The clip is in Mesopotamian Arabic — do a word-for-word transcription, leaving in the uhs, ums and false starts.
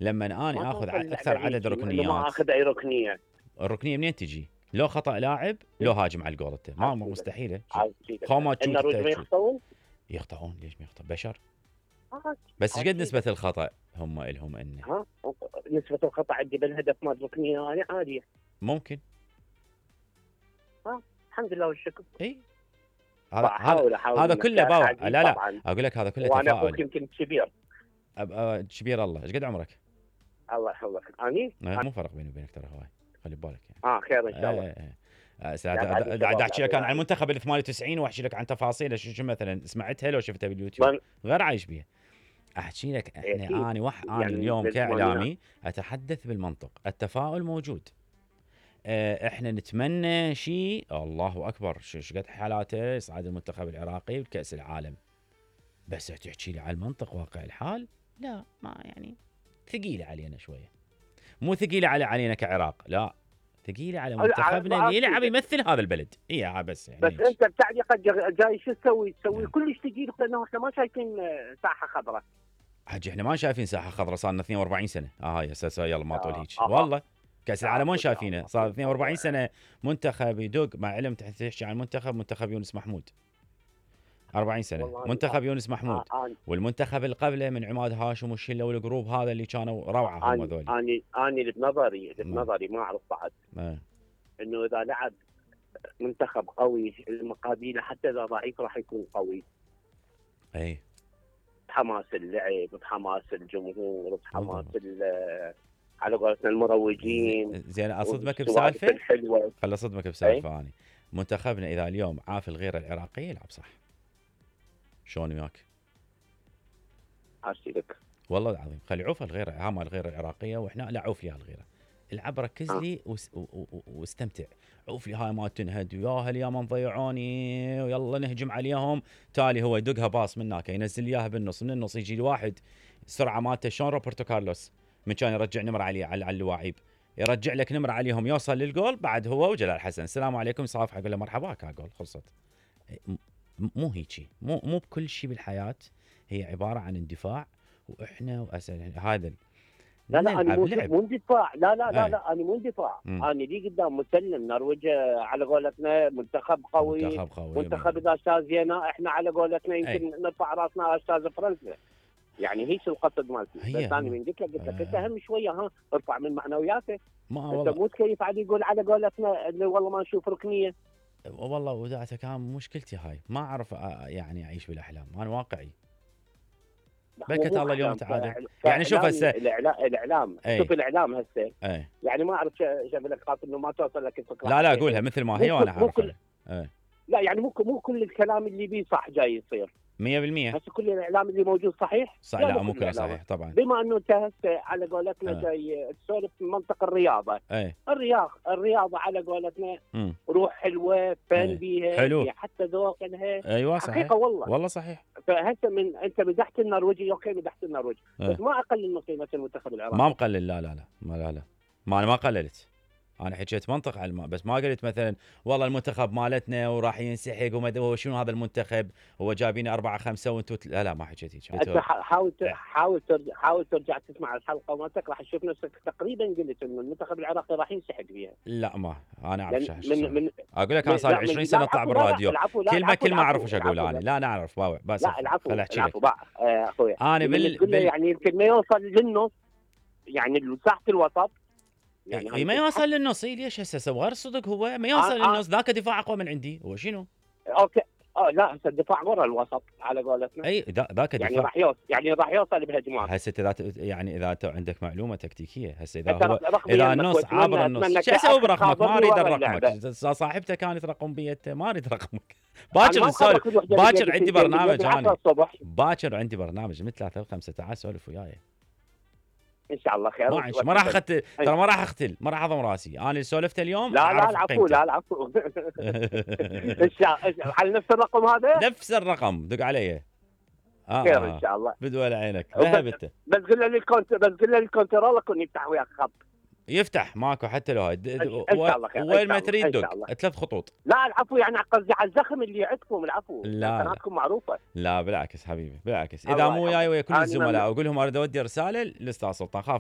لما اني اخذ اكثر عدد ركنيات ما اخذ اي ركنيه. الركنيه منين تجي؟ لو خطا لاعب لو هاجم على الجول انت ما مستحيله. خو ما تشوف يخطئون يخطئون ليش ما يخطئ بشر؟ بس ايش قد نسبه الخطا هم لهم انه؟ ها نسبه الخطا عندي بالهدف مال ركنيه هذه عاديه ممكن. ها الحمد لله والشكر. اي هذا هذا كله باوع. لا لا اقول لك هذا كله تفاؤل. وانا اخوك يمكن كبير. كبير الله. ايش قد عمرك؟ الله يحفظك. اني مو فرق بيني وبينك ترى هواي خلي ببالك يعني. اه خير ان شاء الله. دا احكي لك عن المنتخب ال ثمانية وتسعين واحكي لك عن تفاصيله شو مثلا سمعتها لو شفتها باليوتيوب غير عايش بيها. احكي لك احنا اني وح انا اليوم كاعلامي اتحدث بالمنطق. التفاؤل موجود. احنا نتمنى شيء الله اكبر شو قد حالاته يصعد المنتخب العراقي بكاس العالم. بس تحكي لي على المنطق واقع الحال لا ما يعني ثقيله علينا شويه. مو ثقيله على علينا كعراق لا ثقيله على منتخبنا اللي يلعب يمثل هذا البلد. اي بس يعني بس انت بتعليقك جاي شو تسوي؟ تسوي كلش ثقيل لانه احنا ما شايفين ساحه خضراء. حجي احنا ما شايفين ساحه خضراء صار لنا اثنين وأربعين سنه. اه هاي اساسا يلا ما طول هيك آه. والله كاس العالم وين شايفينه صار اثنين وأربعين سنه منتخب يدق مع علم تحكي عن المنتخب منتخب يونس محمود أربعين سنه منتخب يونس محمود آه. والمنتخب اللي قبله من عماد هاشم والشله والجروب هذا اللي كانوا روعه هم ذول. اني اني بنظري بنظري ما اعرف بعد آه. انه اذا لعب منتخب قوي المقابله حتى اذا ضعيف راح يكون قوي. اي بحماس اللعب بحماس الجمهور بحماس على قولتنا المروجين. زين اصدمك بسالفه خل اصدمك بسالفه اني منتخبنا اذا اليوم عاف الغيره العراقيه يلعب صح. شلون وياك؟ عاشي لك والله العظيم خلي عوف الغيره هاما الغيره العراقيه واحنا لا عوف لي الغيره. العب ركز آه. لي واستمتع. عوف لي هاي ما تنهد ويا هل يا من ضيعوني ويلا نهجم عليهم. تالي هو يدقها باص من هناك ينزل اياها بالنص من النص يجي الواحد السرعه مالته شلون روبرتو كارلوس من كان يرجع نمر عليه على اللاعب يرجع لك نمر عليهم يوصل للجول بعد هو وجلال حسن السلام عليكم صافح اقول له مرحبا كا جول خلصت. مو هيجي مو مو بكل شيء بالحياه هي عباره عن اندفاع واحنا واسال هذا لا لا انا مو اندفاع لا لا لا لا انا مو اندفاع انا لي قدام مسلم نرويج على قولتنا منتخب قوي منتخب قوي منتخب اذا استاذينا احنا على قولتنا يمكن نرفع راسنا استاذ فرنسا يعني هيك القصد مالتي. بس انا من قلت لك قلت لك انت اهم شويه ها ارفع من معنوياته. انت مو تكيف علي يقول على قولتنا انه والله ما نشوف ركنيه. والله وداعتك كان مشكلتي هاي ما اعرف يعني اعيش بالاحلام انا واقعي. بركة الله اليوم تعالى يعني شوف هسه الاعلام ايه. شوف الاعلام هسه ايه. يعني ما اعرف شايف لك خاطر انه ما توصل لك الفكره. لا لا قولها مثل ما هي وانا اعرفها. ايه. لا يعني مو مو كل الكلام اللي بيه صح جاي يصير مية بالمية. هسه كل الاعلام اللي موجود صحيح؟ صحيح لا مو كله صحيح طبعا. بما انه انت هسه على قولتنا اه. جاي تسولف من منطق الرياضه. ايه. الرياض الرياضه على قولتنا م. روح حلوه فن ايه. بيها حلو. حتى ذوق لها ايوه صحيح حقيقه والله والله صحيح. فهسه من انت مدحت النرويجي اوكي مدحت النرويج اه. بس ما اقلل من قيمه المنتخب العراقي. ما مقلل لا لا لا ما لا لا ما انا ما قللت. انا حكيت منطق على الماء بس ما قلت مثلا والله المنتخب مالتنا وراح ينسحق وما شنو هذا المنتخب هو جايبين أربعة خمسة وانتم لا لا ما حكيت هيك. انت حاول حاول ترجع حاول ترجع تسمع الحلقه مالتك راح تشوف نفسك تقريبا قلت انه المنتخب العراقي راح ينسحق فيها. لا ما انا اعرف من من اقول لك انا صار عشرين سنه اطلع بالراديو كلمه كلمه اعرف ايش اقول انا لا انا اعرف باوع بس لا العفو خل احكي لك اخوي انا بال, بال... يعني يمكن ما يوصل للنص يعني مساحه الوسط يعني, يعني ما يوصل للنص ليش هسه غير الصدق هو ما يوصل آه للنص ذاك دفاع اقوى من عندي هو شنو؟ اوكي اه لا هسه الدفاع ورا الوسط على قولتنا اي ذاك يعني راح يوصل يعني راح يوصل بهجمات هسه اذا يعني اذا عندك معلومه تكتيكيه هسه اذا هو اذا النص عابر النص شو اسوي برقمك ما اريد رقمك صاحبته كانت رقم بيته ما اريد رقمك باكر نسولف باكر عندي برنامج انا باكر عندي برنامج من ثلاثة وخمسة تعال سولف وياي ان شاء الله خير. ما ما راح اختل ترى ما راح اختل ما راح اضم راسي انا اللي سولفت اليوم. لا لا العفو لا العفو ان شاء الله على نفس الرقم هذا نفس الرقم دق علي اه خير ان شاء الله بدول عينك ذهبت بس قل لي الكونت بس قل لي الكنترول كون يفتح وياك خط يفتح ماكو حتى لو وين ما تريد دق ثلاث خطوط. لا العفو يعني قصدي على الزخم اللي عندكم العفو قناتكم معروفه. لا بالعكس حبيبي بالعكس اذا مو وياي ويا كل الزملاء اقول لهم اريد اودي رساله للاستاذ سلطان خاف